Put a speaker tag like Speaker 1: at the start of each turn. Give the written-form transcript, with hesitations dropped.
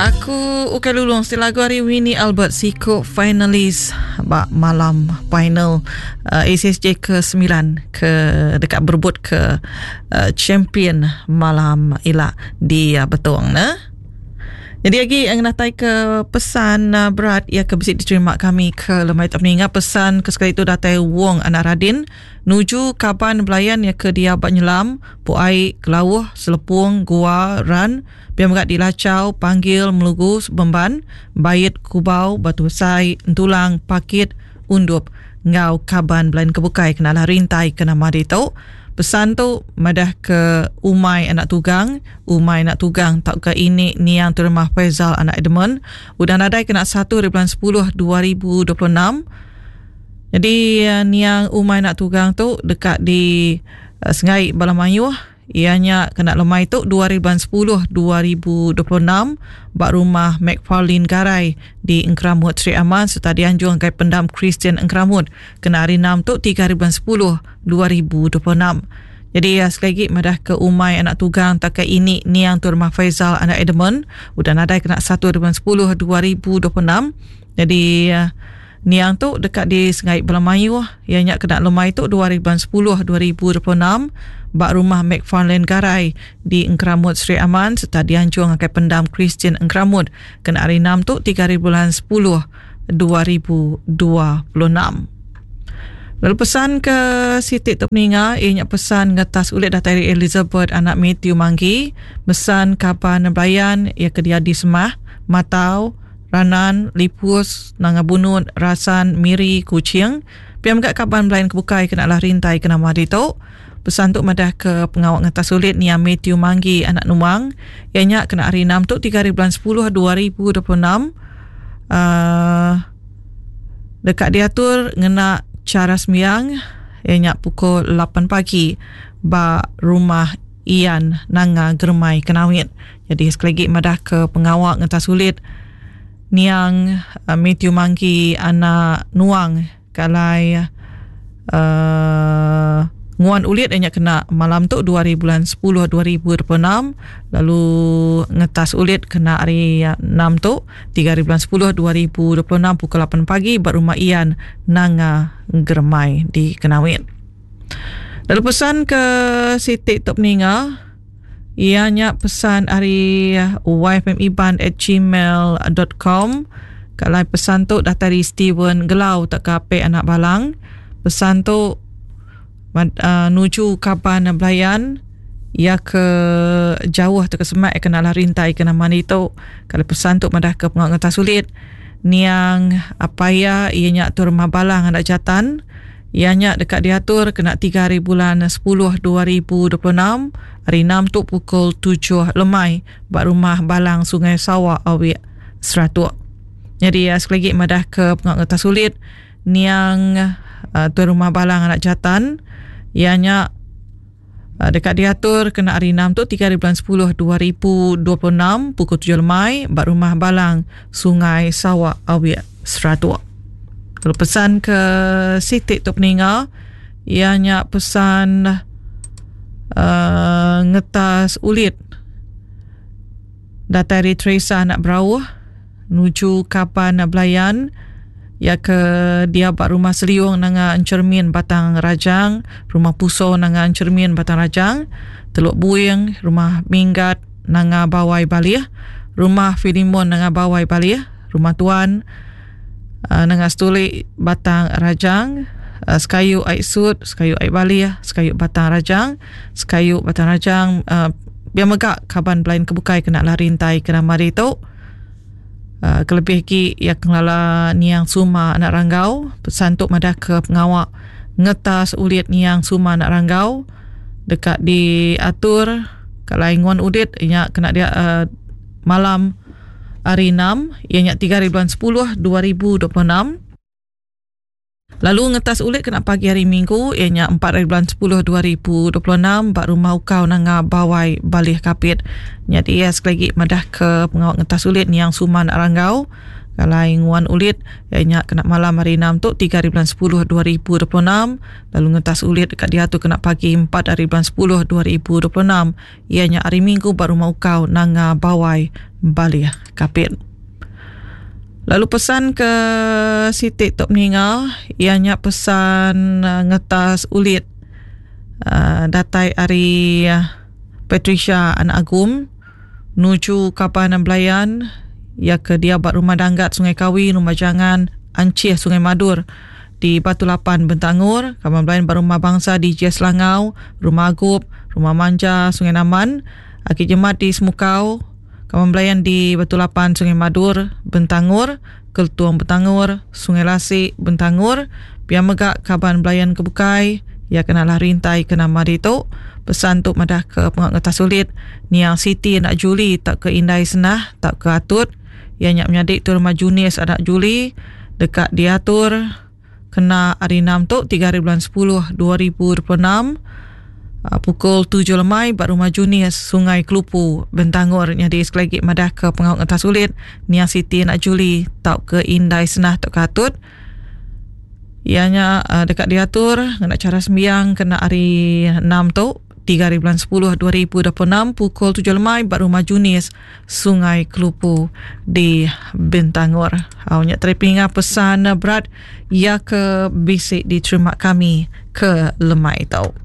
Speaker 1: Aku ukai lulung siti lagu ari Winnie Albert siku finalis ba malam final uh, ACSJ ke-9 ke deka berebut ke uh, champion malam ila di uh, Betong ne. Jadi agi ngenatai ke pesan uh, berat ia ke bisi diterima kami ke lemai tu ninga pesan ke sekali tu datai Wong anak Radin nuju kaban belayan ia ke dia ba nyelam Puai Kelauh Selepung Gua Ran Pia mega di Lachau, Panggil, Melugu, Bemban, Bait, Kubau, Batu Besai, Entulang, Pakit, Undup enggau kaban belain ke bukai kena alah rintai ke nama ditu. Pesan tu madah ke umai anak tugang, umai anak tugang tauka ini niang Turmah Faizal anak Edmund udah nadai kena satu hari bulan sepuluh 2026. Jadi niang umai anak tugang tu deka di sengai bala mayuh Iya nya kena lemai tu 2010 2026 ba Rumah MacFarlane Garai di Engkeramut Sri Aman sereta dianjung ngagai Pendam Kristian Engkeramut kena hari Enam tu tiga hari bulan sepuluh 2026. Nyadi iya sekali agi madah ke umai anak tugang tauka ini niang Tuan Rumah Faizal anak Edmund udah nadai kena satu hari bulan sepuluh 2026. Nyadi Niang tu deka disengai bala mayuh iya nya kena lemai tu 2010 2026 ba Rumah MacFarlane Garai di Engkeramut Sri Aman sereta dianjung ngagai Pendam Kristian Engkeramut kena hari Enam tu tiga hari bulan sepuluh 2026. Lalu pesan ke siti tu peninga iya nya pesan ngetas ulit datai ari Elizabeth anak Matthew Manggi mesan kaban belayan iya ke dia di Semah Matau Ranan, Lipus, Nanga Bunut, Rasan, Miri, Kuching. Pia mega kaban belayan ke bukai kena alah rintai ke nama ditu. Pesan tu madah ke pengawa ngetas ulit niang Mathew Manggi anak Numang iya nya kena hari Enam tu tiga hari bulan sepuluh 2026 uhh deka diatur ngena chara sembiang iya nya pukul lapan pagi ba Rumah Ian Nanga Geremai Kenawit. Nyadi sekali agi madah ke pengawa ngentas ulit niang Mathew Manggi anak Nuang ke alai uhh nguan ulit iya nya kena malam tu dua hari bulan sepuluh 2026 lalu ngetas ulit kena hari enam tu tiga hari bulan sepuluh 2026 pukul lapan pagi ba Rumah Ian Nanga Geremai di Kenawit. Lalu pesan ke siti tu peninga Iya nya pesan ari yfmiban@gmail.com. Ka alai pesan tu datai ari Steven Gelau tauka Apek Anak Balang. Pesan tu uh, nuju kaban belayan iya ke jauh tauka semak iya kena lah rintai ke nama ditu. Ka alai pesan tu madah ke pengawa ngetah sulit niang apai iya iya nya Tuan Rumah Balang anak Jatan. Iya nya deka diatur kena tiga hari bulan sepuluh 2026, hari Enam tu pukul tujuh lemai ba Rumah Balang Sungai Sawa Awik, Seratok. Nyadi iya sekali agi madah ke pengawa ngetas ulit niang Tuai Rumah Balang anak Jatan iya nya deka diatur kena hari Enam tu tiga hari bulan sepuluh 2026 pukul tujuh lemai ba Rumah Balang Sungai Sawa Awik Seratok. Lalu pesan ke siti tu peninga iya nya pesan uh, ngetas ulit datai ari Teresa anak Berauh nuju kaban belayan iya ke diau ba Rumah Seliung Nanga Enchermin Batang Rajang, Rumah Puso Nanga Enchermin Batang Rajang, Teluk Buing, Rumah Minggat Nanga Bawai Balih, Rumah Filimon Nanga Bawai Balih, Rumah Tuan uh, Nanga Setulik Batang Rajang, uh, Sekayu Ai Sut, Sekayu Ai Balih, Sekayu Batang Rajang, Sekayu Batang Rajang, uh, pia mega kaban belayan ke bukai kena lah rintai ke nama ditu. Uh, kelebih agi iya ke ngelala niang Suma anak Ranggau pesan tu madah ke pengawa ngetas ulit niang Suma anak Ranggau deka diatur kalai nguan ulit nya kena dia uh, malam hari 6 iya nya 3 hari bulan 10 2026. Lalu ngetas ulit kena pagi hari Minggu iya nya empat hari bulan sepuluh 2026 ba Rumah Ukau Nanga Bawai Balih Kapit. Nyadi iya sekali agi madah ke pengawa ngetas ulit niang Suman Ranggau alai nguan ulit iya nya kena malam hari enam tu tiga hari bulan sepuluh 2026 lalu ngetas ulit deka diatur kena pagi empat hari bulan sepuluh 2026 iya nya hari Minggu ba Rumah Ukau Nanga Bawai. Balih Kapit. Lalu pesan ke siti tu meninga iya nya pesan ngetas ulit datai ari Patricia anak Agum nuju kaban belayan iya ke diau ba Rumah Danggat Sungai Kawi Rumah Jangan Anchih Sungai Madur di Batu Lapan Bentangor, kaban belayan ba Rumah Bangsa di Jie Selangau, Rumah Agup, Rumah Manja Sungai Naman, Aki Jemat di Semukau, Kaban belayan di Batu Lapan Sungai Madur, Bentangor, Keltung Bentangor, Sungai Lasik, Bentangor, pia mega kaban belayan ke bukai iya ke nalah rintai ke nama ditu. Pesan tu madah ke pengawa ngetas ulit niang Siti anak Juli tauka Indai Senah tauka Atut iya nya menyadi Tuan Rumah Junis anak Juli deka diatur Kena hari enam tu, tiga hari bulan sepuluh 2026, pukul tujuh lemai ba Rumah Junis, Sungai Kelupu, Bentangor. Nyadi sekali agi madah ke pengawa ngetas ulit niang Siti anak Juli tauka Indai Senah tauka Atut. Iya nya deka diatur ngena chara sembiang kena hari enam tu. Tiga hari bulan sepuluh 2026 pukul tujuh lemai ba Rumah Junis, Sungai Kelupu di Bintangor. Au nya tadi pinga pesan berat iya ke bisi diterima kami ke lemai tu.